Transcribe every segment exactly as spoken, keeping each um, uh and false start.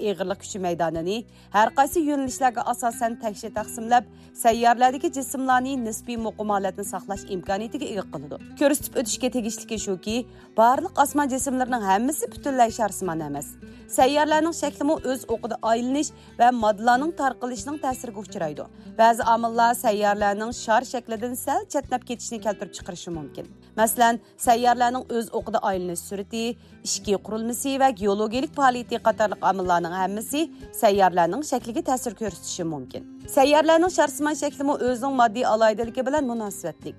ئېغىرلىق كۈچى مەيدانىنى ھەر قايسى يۆنىلىشلەرگە ئاساسەن تەكشى تەقسىملەپ، سەييارىلەردىكى جىسىملارنى نىسپىي مۇقىم ھالەتنى ساقلاش ئىمكانىيىتىگە ئىگە قىلىدۇ. كۆرسىتىپ ئۆتۈشكە تېگىشلىكى شۇكى، بارلىق ئاسمان جىسىملىرىنىڭ ھەممىسى پۈتۈنلەي شارسىمان ئەمەس. سەييارىلەرنىڭ شەكلىمۇ ئۆز ئوقىدا ئايلىنىش ۋە ماددىلارنىڭ تارقىلىشىنىڭ تەسىرىگە ئۇچرايدۇ. بەزى ئامىللار سەييارىلەرنىڭ شار شەكلىدىن سەل چەتنەپ كېتىشىنى كەلتۈرۈپ چىقىرىشى مۇمكىن. مەسىلەن، سەييارىلەرنىڭ ئۆز ئوقىدا ئايلىنىش سۈرئىتى، ئىچكى قۇرۇلمىسى ۋە گېئولوگىيىلىك پائالىيىتى قاتارلىق ئامىللارنىڭ ھەممىسى سەييارىلەرنىڭ شەكلىگە تەسىر كۆرسىتىشى مۇمكىن. سەييارىلەرنىڭ شارسىمان شەكلىمۇ ئۆزىنىڭ ماددىي ئالاھىدىلىكى بىلەن مۇناسىۋەتلىك.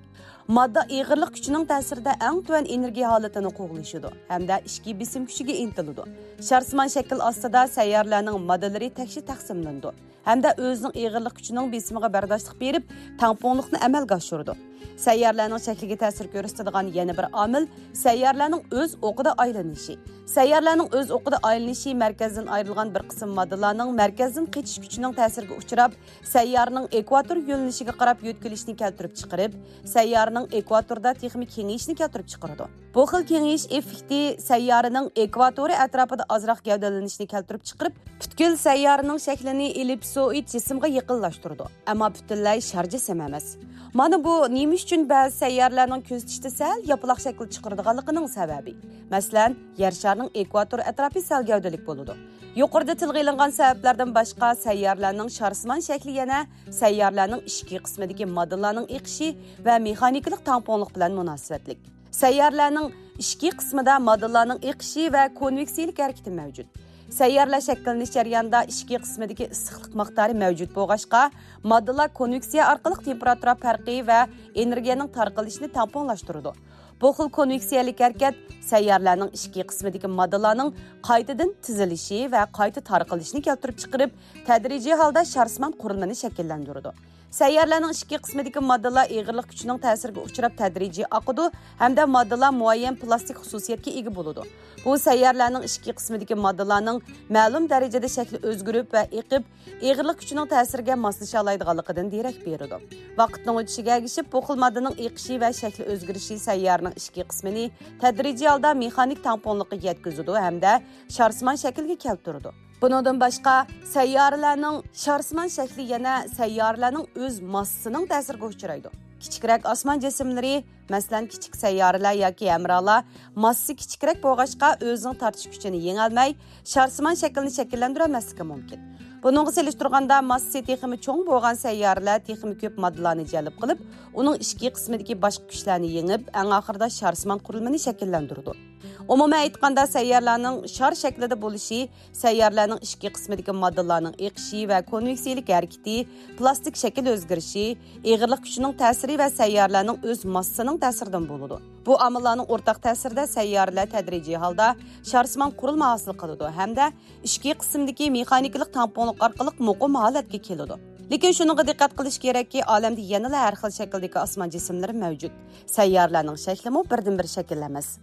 ماددا ئېغىرلىق كۈچىنىڭ تەسىرىدە ئەڭ تۆۋەن ئېنېرگىيە ھالىتىنى قوغلىشىدۇ ھەمدە ئىچكى بېسىم كۈچىگە ئىنتىلىدۇ. شارسىمان شەكىل ئاستىدا سەييارىلەرنىڭ ماددىلىرى تەكشى تەقسىملىنىدۇ ھەمدە ئۆزىنىڭ ئېغىرلىق كۈچىنىڭ بېسىمىغا بەرداشلىق بېرىپ، تەڭپۇڭلۇقنى ئەمەلگە ئاشۇرىدۇ. سەييارىلەرنىڭ شەكلىگە تەسىر كۆرسىتىدىغان يەنە بىر ئامىل سەييارىلەرنىڭ ئۆز ئوقىدا ئايلىنىشى. سەييارىلەرنىڭ ئۆز ئوقىدا ئايلىنىشى مەركەزدىن ئايرىلغان بىر قىسىم ماددىلارنىڭ مەركەزدىن قېچىش كۈچىنىڭ تەسىرىگە ئۇچراپ، سەييارىنىڭ ئېكۋاتور يۆنىلىشىگە قاراپ يۆتكىلىشنى كەلتۈرۈپ چىقىرىپ، سەييارىنىڭ ئېكۋاتوردا تېخىمۇ كېڭىيىشىنى كەلتۈرۈپ چىقىرىدۇ. بۇ خىل كېڭىيىش ئېففېكتى سەييارىنىڭ ئېكۋاتورى ئەتراپىدا ئازراق گەۋدىلىنىشنى كەلتۈرۈپ چىقىرىپ، پۈتكۈل سەييارىنىڭ شەكلىنى ئېللىپسوئىد جىسىمغا يېقىنلاشتۇرىدۇ، ئەمما پۈتۈنلەي شار جىسىم ئەمەس. مانا بۇ نېمە ئۈچۈن بەزى سەييارىلەرنىڭ كۆزىتىشتە سەل ياپىلاق شەكىل چىقىرىدىغانلىقىنىڭ سەۋەبى. مەسىلەن، يەر شارىنىڭ ئېكۋاتور ئەتراپى سەل گەۋدىلىك بولىدۇ. يۇقىرىدا تىلغا ئېلىنغان سەۋەبلەردىن باشقا، سەييارىلەرنىڭ شارسىمان شەكلى يەنە سەييارىلەرنىڭ ئىچكى قىسمىدىكى ماددىلارنىڭ ئېقىشى ۋە مېخانىكىلىق تەڭپۇڭلۇق بىلەن مۇناسىۋەتلىك. سەييارىلەرنىڭ ئىچكى قىسمىدا ماددىلارنىڭ ئېقىشى ۋە كونۋېكسىيىلىك ھەرىكىتى مەۋجۇت. سەييارىلەر شەكىللىنىش جەريانىدا ئىچكى قىسمىدىكى ئىسسىقلىق مىقدارى مەۋجۇت بولغاچقا، ماددىلار كونۋېكسىيە ئارقىلىق تېمپېراتۇرا پەرقى ۋە ئېنېرگىيەنىڭ تارقىلىشىنى تەڭپۇڭلاشتۇرىدۇ. بۇ خىل كونۋېكسىيەلىك ھەرىكەت سەييارىلەرنىڭ ئىچكى قىسمىدىكى ماددىلارنىڭ قايتىدىن تىزىلىشى ۋە قايتا تارقىلىشىنى كەلتۈرۈپ چىقىرىپ، تەدرىجىي ھالدا شارسىمان قۇرۇلمىنى شەكىللەندۈرىدۇ. سەييارىلەرنىڭ ئىچكى قىسمىدىكى ماددىلار ئېغىرلىق كۈچىنىڭ تەسىرىگە ئۇچراپ تەدرىجىي ئاقىدۇ ھەمدە ماددىلار مۇئەييەن پلاستىك خۇسۇسىيەتكە ئىگە بولىدۇ. بۇ سەييارىلەرنىڭ ئىچكى قىسمىدىكى ماددىلارنىڭ مەلۇم دەرىجىدە شەكلى ئۆزگىرىپ ۋە ئېقىپ، ئېغىرلىق كۈچىنىڭ تەسىرىگە ماسلىشالايدىغانلىقىدىن دېرەك بېرىدۇ. ۋاقىتنىڭ ئۆتۈشىگە ئەگىشىپ، بۇ خىل ماددىنىڭ ئېقىشى ۋە شەكلى ئۆزگىرىشى سەييارىنىڭ ئىچكى قىسمىنى تەدرىجىي ھالدا مېخانىك تەڭپۇڭلۇققا يەتكۈزىدۇ ھەمدە شارسىمان شەكىلگە كەلتۈرىدۇ. بۇنىڭدىن باشقا، سەييارىلەرنىڭ شارسىمان شەكلى يەنە سەييارىلەرنىڭ ئۆز ماسسىسىنىڭ تەسىرىگە ئۇچرايدۇ. كىچىكرەك ئاسمان جىسىملىرى، مەسىلەن، كىچىك سەييارىلەر ياكى ھەمراھلار ماسسىسى كىچىكرەك بولغاچقا، ئۆزىنىڭ تارتىش كۈچىنى يېڭەلمەي، شارسىمان شەكىلنى شەكىللەندۈرەلمەسلىكى مۇمكىن. بۇنىڭغا سېلىشتۇرغاندا، ماسسىسى تېخىمۇ چوڭ بولغان سەييارىلەر تېخىمۇ كۆپ ماددىلارنى جەلپ قىلىپ، ئۇنىڭ ئىچكى قىسمىدىكى باشقا كۈچلەرنى يېڭىپ، ئەڭ ئاخىرىدا شارسىمان قۇرۇلمىنى شەكىللەندۈرىدۇ. ئومۇمەن ئېيتقاندا، سەييارىلەرنىڭ شار شەكلىدە بولۇشى سەييارىلەرنىڭ ئىچكى قىسمىدىكى ماددىلارنىڭ ئېقىشى ۋە كونۋېكسىيىلىك ھەرىكىتى، پلاستىك شەكىل ئۆزگىرىشى، ئېغىرلىق كۈچىنىڭ تەسىرى ۋە سەييارىلەرنىڭ ئۆز ماسسىسىنىڭ تەسىرىدىن بولىدۇ. بۇ ئامىللارنىڭ ئورتاق تەسىرىدە سەييارىلەر تەدرىجىي ھالدا شارسىمان قۇرۇلما ھاسىل قىلىدۇ ھەمدە ئىچكى قىسىمدىكى مېخانىكىلىق تەڭپۇڭلۇق ئارقىلىق مۇقىم ھالەتكە كېلىدۇ. لېكىن شۇنىڭغا دىققەت قىلىش كېرەككى، ئالەمدە يەنىلا ھەر خىل شەكىلدىكى ئاسمان جىسىملىرى مەۋجۇت. سەييارىلەرنىڭ شەكلىمۇ بىردىنبىر شەكىل ئەمەس.